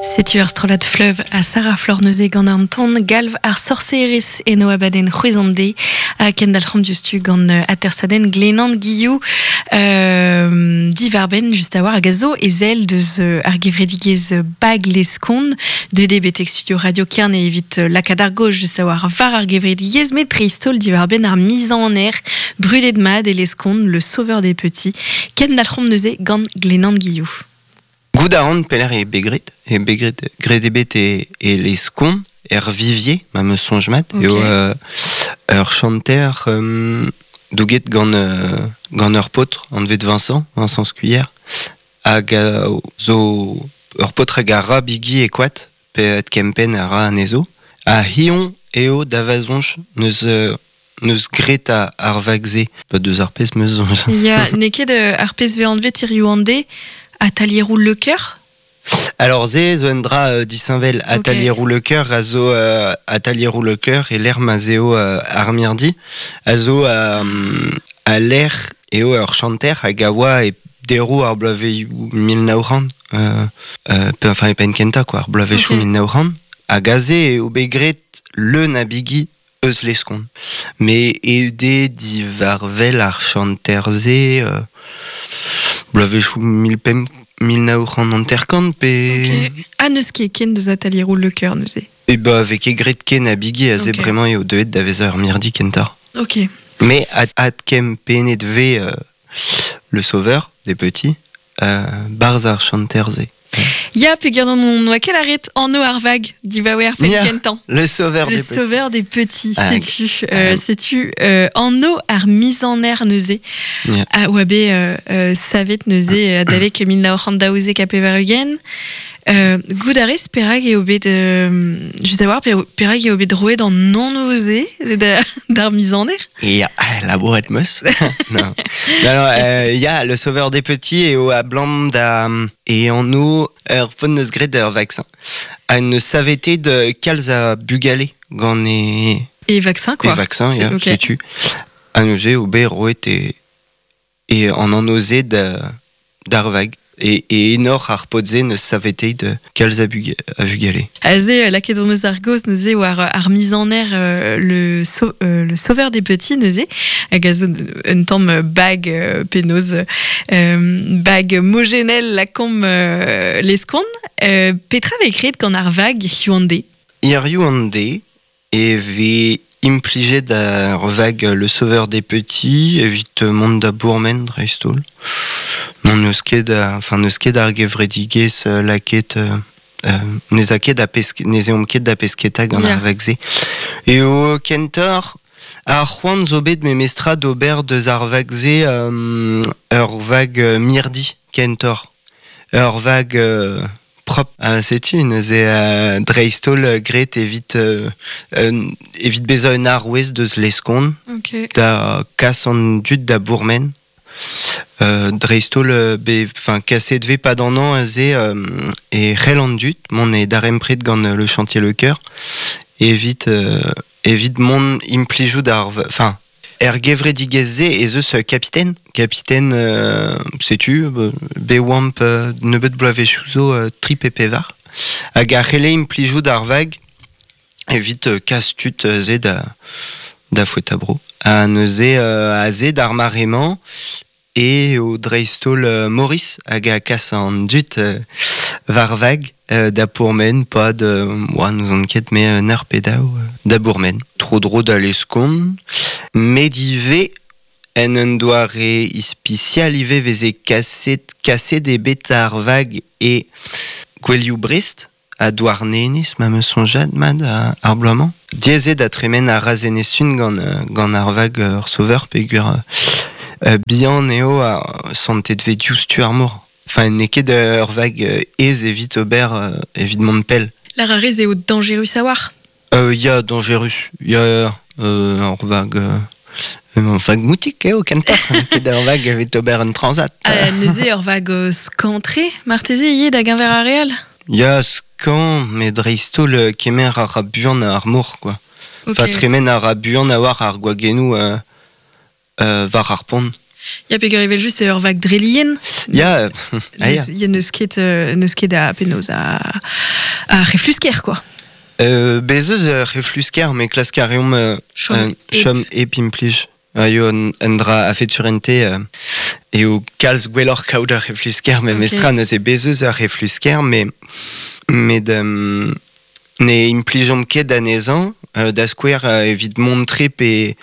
Setu ar strollad Fleuve ha Sarah Flor neuze gant an ton galv ar sorserez eno abadenn c'hwezh an de ha kendalc'homp diouzhtu gant atersadenn Glenan Guillou diwarbenn just a-walc'h hag a zo ezel deus ar gevredigezh Bag Leskon deuet eo betek studio Radio Kerne evit lakaat ar gaoz just a-walc'h war ar gevredigezh met dreist-holl diwar-benn ar mizaner brudet mat e Leskon, le sauveur des petits. Kendalc'homp neuze gant Glenan Guillou. Goût a ran pelec'h eo bet graet. Eo bet graet, graet eo bet e, e Leskon, er Vivier, ma 'm eus soñj mat. Eo ur chanter douget gant, gant ur paotr anvet Vincent, Vincent Scuyer, hag a zo ur paotr hag a ra bigi e koad, pe kempenn a ra anezho. Ha hiziv eo da va soñj n'eus n'eus graet ar vag-se. Pas deus ar pezh 'm eus soñj. Ya, n'eo ket ar pezh 'vez anvet hiziv an deiz atalieroù Le Cœur? Alors se zo un dra disheñvel. Atalieroù Le Cœur a zo atalieroù Le Cœur e lec'h ma'z eo ar mirdi a zo a lec'h eo ur chanter hag a oa e deroù ar bloavezhioù 1900 pe enfin e penn kentañ quoi, ar bloavezhioù 1900 hag aze eo bet graet leun a bigi eus Leskon. Met eo diwar-wel ar chanter-se bloavezhioù 1950 pe... Ok. Ha n'eus ket ken deus atalieroù Le Cœur neuze? E ba 'vez ket graet ken a bigi aze bremañ eo deuet da vezañ ur mirdi kentoc'h. Ok. Mais adkempennet 'vez Le Sauveur des petits barzh ar chanter-se. Ya, peogwir n'on oa ket lâret anv ar vag dibaoe ar penn kentañ. Le Sauveur Le des petits. Sauveur des petits, setu, setu anv ar mizaner neuze. A oa bet savet neuze adalek 1992. Goût a rez perak eo bet just a-walc'h perak eo bet roet an anv-se d'ar mizaner? Ya, labouret 'm eus. Non. Non, non, ya, Le Sauveur des petits eo abalamour da e anv ur paotr 'neus graet ur vaksin. Ha 'neus savetet kalz a bugale gant e... E vaksin, quoi. E vaksin, ya, setu. Ha neuze eo bet roet e E an anv-se d'ar vag e enor ar paotr-se n'eus saveteet kalz a vugale. Aze, lakaet hon eus ar gaoz neuze war ar mizaner le, le sauveur des petits neuze, hag a zo un tamm bag penaos bag mojenel lakaomp leskon. Petra vez graet gant ar vag hiziv an deiz? Hiziv an deiz e vez implijet ar vag Le Sauveur des Petits evit mont da bourmen dreist-holl. N'hon eus ket enfin n'eus ket ar gevredigezh lakaet n'ez a ket da pesk n'ez eomp ket da pesketa gant ar vag-se. Eo kentoc'h ar c'hoant zo bet memestra d'ober deus ar vag-se ur vag mirdi kentoc'h. Ur vag Prop. Setu neuze dreist-holl graet evit evit bezañ un arouez deus Leskon da kas an dud da bourmen. Dreist-holl be enfin kaset 'vez pad an hañv aze e c'hell an dud mont e darempred gant Le Chantier Le Cœur evit evit mont implijout ar enfin Er gevredigezh-se ez eus kapiten. Kapiten, setu, bet oamp nebeut bloavezhioù zo tri pe pevar. Hag a c'helle implijout ar vag evit kas tud se da, da foetañ-bro. Ha neuze, aze d'ar mare-mañ, eo dreist-holl Maurice hag a kas an dud war vag da pourmen pad oa n'ouzon ket me un eur pe daou da bourmen. Tro-dro da Leskon, met ivez en un doare ispisial ivez veze kaset kaset eo bet ar vag e gouelioù Brest ha Douarnenez ma 'm eus soñjad mat ar bloaz-mañ. Diaes eo da tremen ar Razenez-Sun gant gant ar vag ur sauveur peogwir bihan eo ha santet 'vez diouzhtu ar mor. Enfin n'eo ket ur vag aes evit ober evit mont pell. Lâr a rez eo dañjerus a-walc'h? Ya, dañjerus. Ya, ur vag ur vag moutik eo kentoc'h. N'eo ket ur vag evit ober un transat. Neuze ur vag skañv-tre marteze ivez da geñver ar re all? Ya, skañv, met dreist-holl kemer a ra buan ar mor, quoi. Enfin, tremen a ra buan a-walc'h ar gwagennoù war ar pont. Ya peger evel just ur vag drelien. Ya, ah, ya. Ya neus ket, neus ket a penaos a reflusker, quoi. Bez eus reflusker, mais klask a reomp chom ep implij. Eo un dra a fet surente eo kalz gwelloc'h kaout ar reflusker, met okay. mestra neuze bez eus ar reflusker, met ne implijomp ket anezhañ, da skouer evit mont tre pe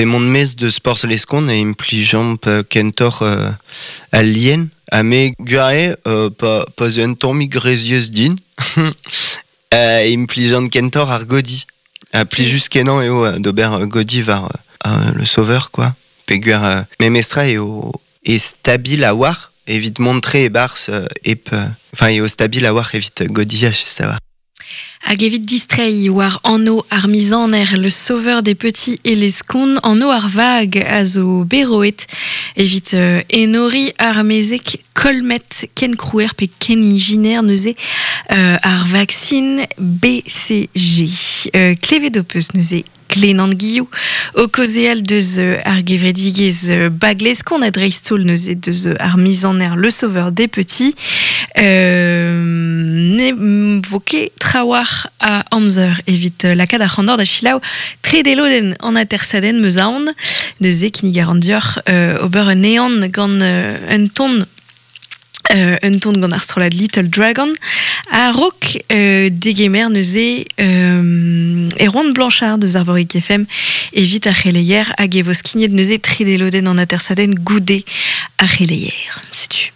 mont mez de sports leskon e implijomp kentoc'h al lien. Ha me gwir eo, pa zo un tammig rezius din, implijant kentoc'h ar godi. Ha plijus kenañ eo d'ober godi war le sauveur, quoi. Peogwir memestra eo e stabil a-walc'h evit mont-tre e-barzh hep... Enfin, eo stabil a-walc'h evit godiañ, just a-walc'h. Hag evit distreiñ war anv ar mizaner Le Sauveur des Petits et les Skon, anv ar vag a zo bet roet evit enoriñ ar mezeg Kolmet ken krouer pe ken ijiner neuze ar vaksin BCG. Klevet ho peus neuze Glenan Guillou o kaozeal deus ar gevredigezh Bagleskon ha dreist-holl neuze deus ar mizaner Le Sauveur des Petits. Ne vo ket trawalc'h a amzer evit lakaat ar c'handor da selaou trede lodenn an atersadenn 'm eus aon. Neuze kinnig a ran deoc'h ober un ehan gant un ton un ton gant ar strollad Little Dragon a-raok degemer neuze Erwan Blanchard deus Arvorig FM evit ar c'heleier hag e vo skignet neuze trede lodenn an atersadenn goude ar c'heleier. Setu.